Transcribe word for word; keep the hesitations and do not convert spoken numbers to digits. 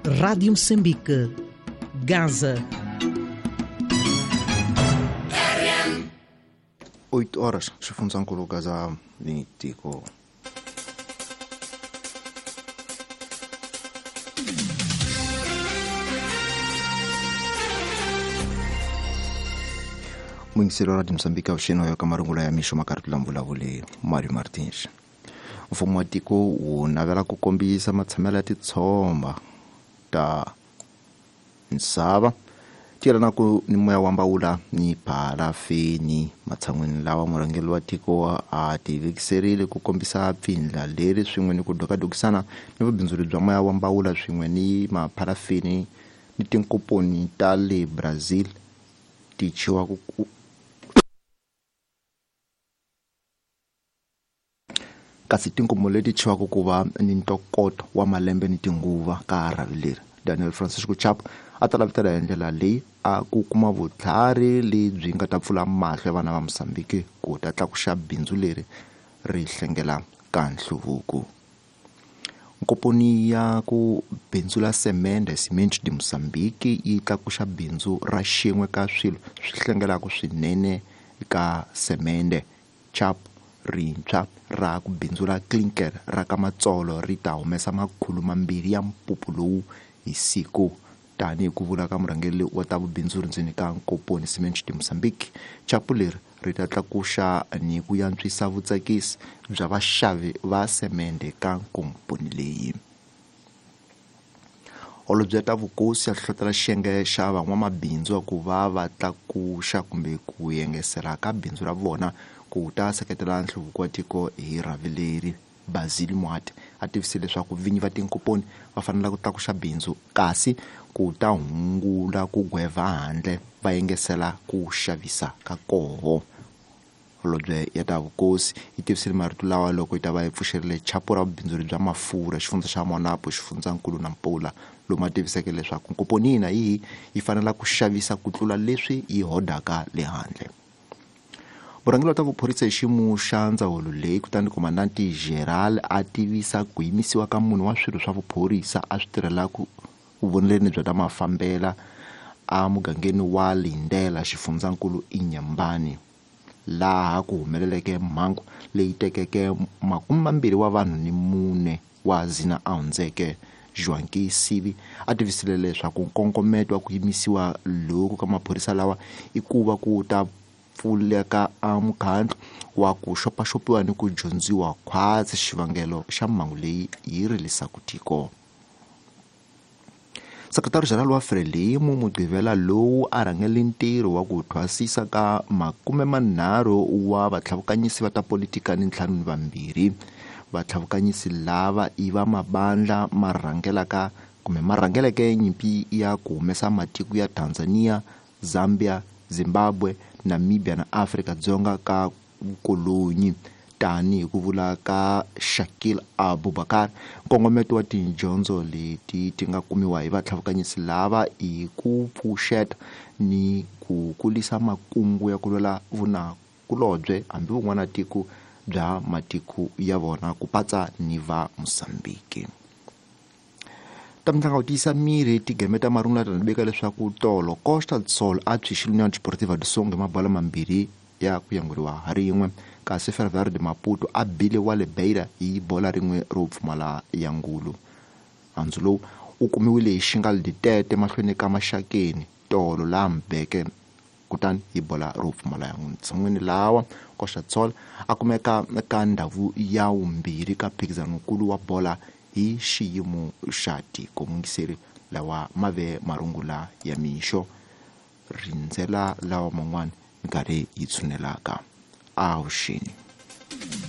Rádio Moçambique, Gaza. Oito horas, xifundzankulu Gaza ni tiko. Muyingiseri wa Radio Moçambique avuxeni wa ka marungula ya mixo makarhi la mvulavuli Mario Martins. Mfumo wa tiko wu navela ku kombisa matshamelo ya titshomba ta misava ti yelanaku ni moya wa mbawula ni parafini. Matshan'wini lawa murhangeri wa tiko a tivekiserile ku kombisa pfindla leri swin'we ni ku dokadokisana ni vubindzuri bya moya wa mbawula swin'we ni mapharafini ni tinkomponi ta le Brazil ti chiwa ku kasi tinkomo leti chiwaka ku va ni ntokoto wa malembe ni tinguva ka rhavi leri. Daniel Francisco Chapo a ta lavutela hi ndlela leyi a ku kuma vutlhari lebyi nga ta pfula mahlo ya vana va Mozambique ku ta tlakuxa bindzu leri ri hlengela ka nhluvuko. Nkomponi ya ku bindzula semende Cimento de Moçambique yi tlakuxa bindzu ra xin'we ka swilo swi hlengelaka swinene ka semende. Chapo rintshwa ra ku bindzula clinker ra ka Matsolo ri ta humesa makhulu mambirhi ya mpupu lowu hi siku, tanihi ku vula ka murhangeri wa ta vubindzuri ndzeni ka nkomponi Cimento de Moçambique. Chapu leri ri ta tlakuxa ni ku antswisa vutsakisi bya vaxavi va semende ka nkomponi leyi. Holobye ta vukosi ya hlohlotela xiyenge xa van'wamabindzu ku va va tlakuxa kumbe ku yengesela ka bindzu ra vona ku ta seketela nhluvuko wa tiko hi rhavi leri. Basil Mwati a tivisile leswaku vinyi va tinkomponi va fanele ku tlakuxa bindzu kasi ku ta hungula ku gweva handle va yengesela ku xavisa ka koho. Holobye ya ta vukosi yi tivisile marito lawa loko yi ta va yi pfuxerile chapo ra vubindzuri bya mafurha xifundza xa Monapo, xifundzankulu na Mpula, lomu a tiviseke leswaku nkomponi yina yihi yi fanele ku xavisa ku tlula leswi yi hodaka le handle. Murhangeri wa ta vuphorisa hi xiyimo xa ndzawulo leyi kutani Komandanti Gerald a tivisa ku yimisiwa ka munhu wa swilo swa vuphorisa a swi tirhelaka vuvoneleni bya ta mafambela a mugangeni wa Lindela xifundzankulu Inhambane, laha ku humeleleke mhangu leyi tekeke makume mambirhi wa vanhu ni mune wa zina a hundzeke. Joaquim Sivi a tivisile leswaku nkongometo wa ku yimisiwa loku ka maphorisa lawa i ku va ku ta pfuleka a mukhandlu wa ku xopaxopiwa ni ku dyondziwa khwatsi xivangelo xa mhangu leyi yi rilisaka tiko. Sekretari General wa Frelimo Mugqivela lowu a rhangele ntirho wa ku thwasisa ka makume manharhu wa vatlhavukanyisi va ta politika ni ntlhanu ni vambirhi. Vatlhavukanyisi lava i va mabandla ma rhangelaka kumbe ma rhangeleke nyimpi ya ku humesa matiko ya Tanzania, Zambia, Zimbabwe, Namibia na Afrika Dzonga ka vukolonyi, tanihi ku vula ka Shakil Abubakar. Nkongometo wa tidyondzo leti ti nga kumiwa hi vatlhavukanyisi lava i ku pfuxeta ni ku kulisa makungu ya ku lwela vunakulobye hambi vun'wana tiko bya matiko ya vona ku patsa ni va Mozambique. Ta mitlangu ku tiyisa miri tigeme ta marungula ta veka leswaku tolo Costa do Sol a tshwixile União Desportiva do Songo hi mabola mambirhi ya ku yanguriwa ha rin'we, kasi Ferroviário de Maputo a bile wa le Beira hi bola rin'we ro pfumala ya ngulu. Handzu lowu u kumiwile hi Xingal Ditete mahlweni ka Maxakeni tolo laha Mbeke kutani hi bola ro pfumala ya ntshan'wini lawa Costa do Sol a kumeka ka ndhawu ya vumbirhi ka mphikizanokulu wa bola hi xiyimo xa tiko. Mungiseri lawa ma ve marungula ya mixo, rindzela lawa man'wana minkarhi yi tshunelaka. Avuxeni.